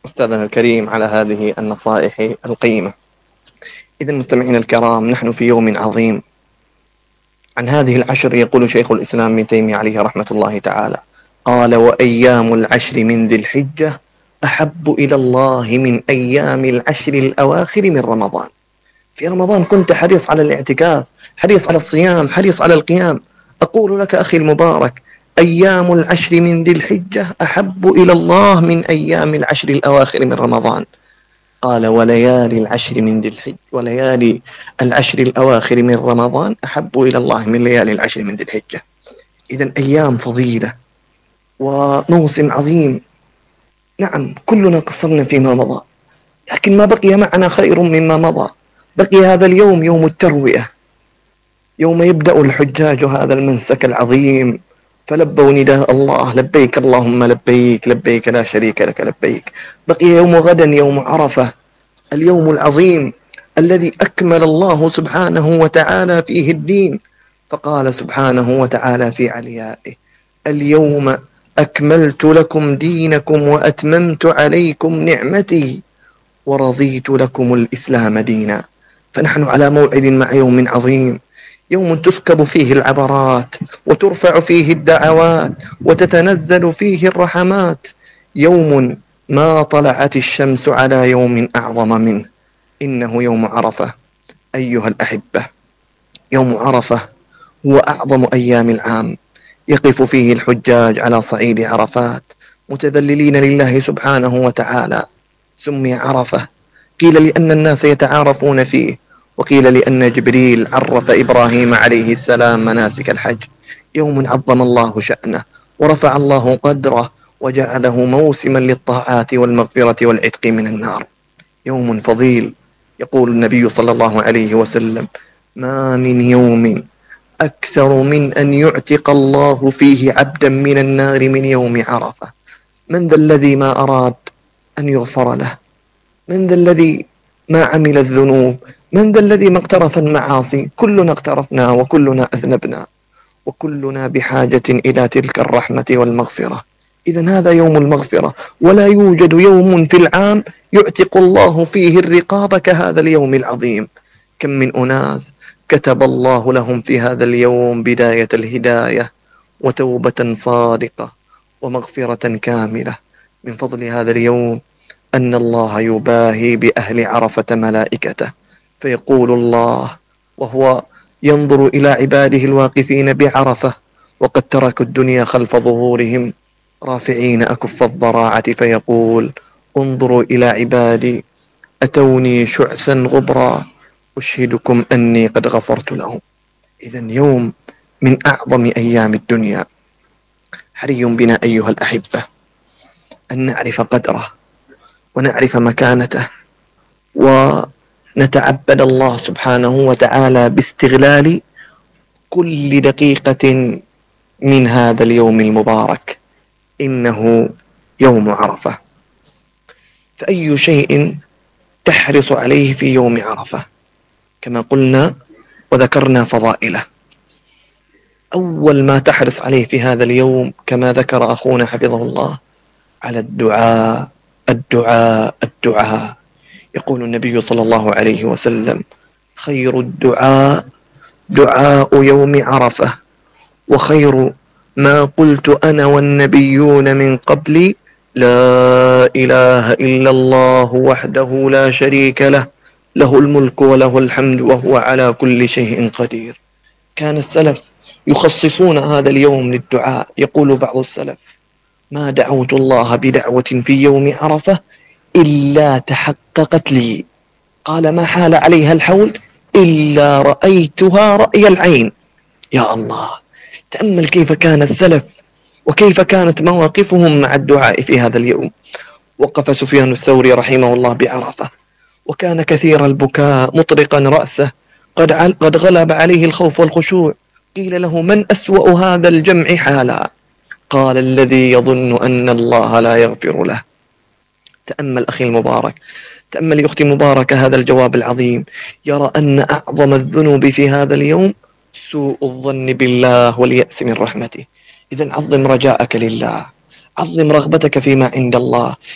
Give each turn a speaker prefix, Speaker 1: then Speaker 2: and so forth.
Speaker 1: أستاذنا الكريم على هذه النصائح القيمة. إذا مستمعينا الكرام، نحن في يوم عظيم. عن هذه العشر يقول شيخ الإسلام ابن تيمية عليه رحمة الله تعالى، قال: وأيام العشر من ذي الحجة أحب إلى الله من أيام العشر الأواخر من رمضان. في رمضان كنت حريص على الاعتكاف، حريص على الصيام، حريص على القيام. أقول لك أخي المبارك، أيام العشر من ذي الحجة أحب إلى الله من أيام العشر الأواخر من رمضان. قال: وليالي العشر من ذي الحجة، وليالي العشر الأواخر من رمضان أحب إلى الله من ليالي العشر من ذي الحجة. إذن أيام فضيلة وموسم عظيم. نعم، كلنا قصرنا فيما مضى، لكن ما بقي معنا خير مما مضى. بقي هذا اليوم، يوم التروية، يوم يبدأ الحجاج هذا المنسك العظيم، فلبوا نداء الله: لبيك اللهم لبيك، لبيك لا شريك لك لبيك. بقي يوم غدا، يوم عرفة، اليوم العظيم الذي أكمل الله سبحانه وتعالى فيه الدين، فقال سبحانه وتعالى في عليائه: اليوم أكملت لكم دينكم وأتممت عليكم نعمتي ورضيت لكم الإسلام دينا. فنحن على موعد مع يوم عظيم، يوم تسكب فيه العبرات وترفع فيه الدعوات وتتنزل فيه الرحمات، يوم ما طلعت الشمس على يوم أعظم منه، إنه يوم عرفة. أيها الأحبة، يوم عرفة هو أعظم أيام العام، يقف فيه الحجاج على صعيد عرفات متذللين لله سبحانه وتعالى. سمي عرفة، قيل لأن الناس يتعارفون فيه، وقيل لأن جبريل عرف إبراهيم عليه السلام مناسك الحج. يوم عظم الله شأنه ورفع الله قدره وجعله موسما للطاعات والمغفرة والعتق من النار. يوم فضيل. يقول النبي صلى الله عليه وسلم: ما من يوم أكثر من أن يعتق الله فيه عبدا من النار من يوم عرفة. من ذا الذي ما أراد أن يغفر له؟ من ذا الذي ما عمل الذنوب؟ من ذا الذي ما اقترف المعاصي؟ كلنا اقترفنا وكلنا أذنبنا، وكلنا بحاجة إلى تلك الرحمة والمغفرة. إذن هذا يوم المغفرة، ولا يوجد يوم في العام يعتق الله فيه الرقاب كهذا اليوم العظيم. كم من أناس كتب الله لهم في هذا اليوم بداية الهداية وتوبة صادقة ومغفرة كاملة. من فضل هذا اليوم أن الله يباهي بأهل عرفة ملائكته، فيقول الله وهو ينظر إلى عباده الواقفين بعرفة وقد تركوا الدنيا خلف ظهورهم رافعين أكف الضراعة، فيقول: انظروا إلى عبادي أتوني شعثا غبرا أشهدكم أني قد غفرت لهم. إذن يوم من أعظم أيام الدنيا. حري بنا أيها الأحبة أن نعرف قدره ونعرف مكانته، ونتعبد الله سبحانه وتعالى باستغلال كل دقيقة من هذا اليوم المبارك. إنه يوم عرفة، فأي شيء تحرص عليه في يوم عرفة؟ كما قلنا وذكرنا فضائله. أول ما تحرص عليه في هذا اليوم كما ذكر أخونا حفظه الله على الدعاء الدعاء الدعاء. يقول النبي صلى الله عليه وسلم: خير الدعاء دعاء يوم عرفة، وخير ما قلت أنا والنبيون من قبلي لا إله إلا الله وحده لا شريك له، له الملك وله الحمد وهو على كل شيء قدير. كان السلف يخصصون هذا اليوم للدعاء. يقول بعض السلف: ما دعوت الله بدعوة في يوم عرفة إلا تحققت لي. قال: ما حال عليها الحول إلا رأيتها رأي العين. يا الله، تأمل كيف كان السلف وكيف كانت مواقفهم مع الدعاء في هذا اليوم. وقف سفيان الثوري رحمه الله بعرفة، وكان كثير البكاء مطرقا رأسه، قد غلب عليه الخوف والخشوع. قيل له: من أسوأ هذا الجمع حالا؟ قال: الذي يظن أن الله لا يغفر له. تأمل أخي المبارك، تأمل أختي مباركة هذا الجواب العظيم. يرى أن أعظم الذنوب في هذا اليوم سوء الظن بالله واليأس من رحمته. إذن عظم رجاءك لله، عظم رغبتك فيما عند الله.